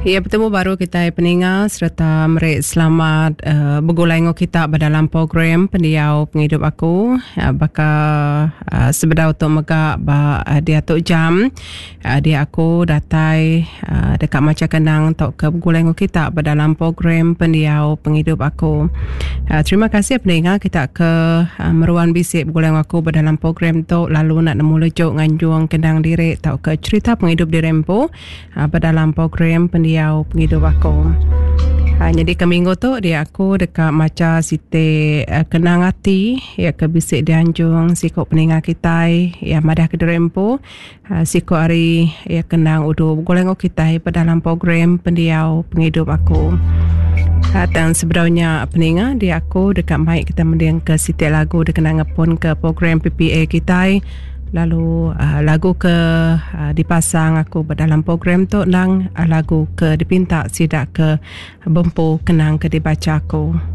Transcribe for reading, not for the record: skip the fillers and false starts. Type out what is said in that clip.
Iya betemu baru kitai peninga sereta meri selamat uh, begulai enggau kita ba dalam program pendiau pengidup aku uh, baka uh, sebedau tu mega ba uh, diatu jam uh, dia aku datai uh, deka macha kenang tauka begulai enggau kita ba dalam program pendiau pengidup aku. Uh, terima kasih peninga kita ke uh, meruan bisi begulai enggau aku ba dalam program tu lalu nak nemu lejuk nganjung kenang diri tauka cerita pengidup diri empu. Ba dalam program pendiau pengidup aku. Nyadi ke minggu tu dia aku deka macha siti kenang ati iya ke bisi dianjung siku peninga kitai iya madah ke diri empu siku ari iya kenang udu begulai enggau kitai ba dalam program pendiau pengidup aku. Tang sebedau nya peninga dia aku deka mai kita mending ke siti lagu dikena ngepun ke program PPA kitai. Lalu lagu ke dipasang aku ba dalam program tu endang lagu ke dipinta sida ke bempu kenang ke dibacha aku.